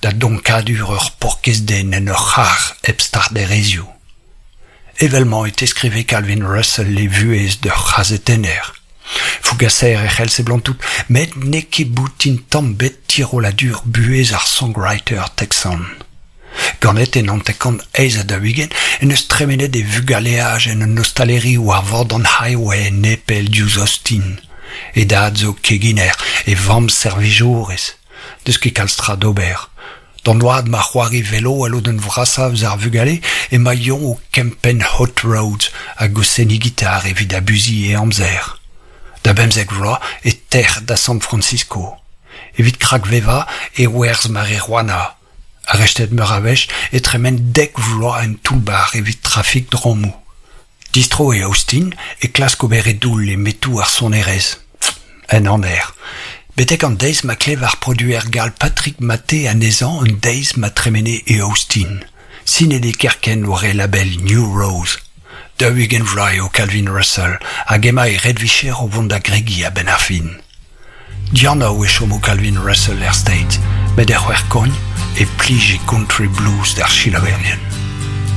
da donkadur ur paourkaezh den en ur c'harr hep starderezioù. Evel-mañ e teskrive Calvin Russell e vuhez d'ur c'hazetenner. Fougaser e c'hell seblantout met n'eo ket boutin tamm 'bet tirolladur buhez ar songwriter texan. Ganet en 1948 en deus tremenet e vugaleaj en un ostaleri war vord an highway nepell diouzh Austin. E dad zo keginer, e vamm servijourez. N'eus ket kalz tra d'ober. D'an oad ma c'hoari velo al lodenn vrasañ eus ar vugale emañ Yon o kempenn hot roads hag o seniñ gitar evit abuziñ e amzer. Da bemzek vloaz e tec'h da San Francisco. Evit krakvevañ e werzh marijuana. Arestet meur a wech e tremen dek vloaz en toull-bac'h evit trafik drammoù. Distro e Austin e klask ober e doull e metoù ar sonerezh. En aner. Betek an deiz ma klev ar produer gall Patrick Maté anezhañ un deiz ma tremene e Austin. Sinet eo kerkent war e label New Rose. 40 vloaz eo Calvin Russell hag emañ e red-vicher o vont da gregiñ a-benn ar fin. Dianav e chomo Calvin Russell er States, met er C'hwec'hkogn e plij e country blues d'ar selaouerien.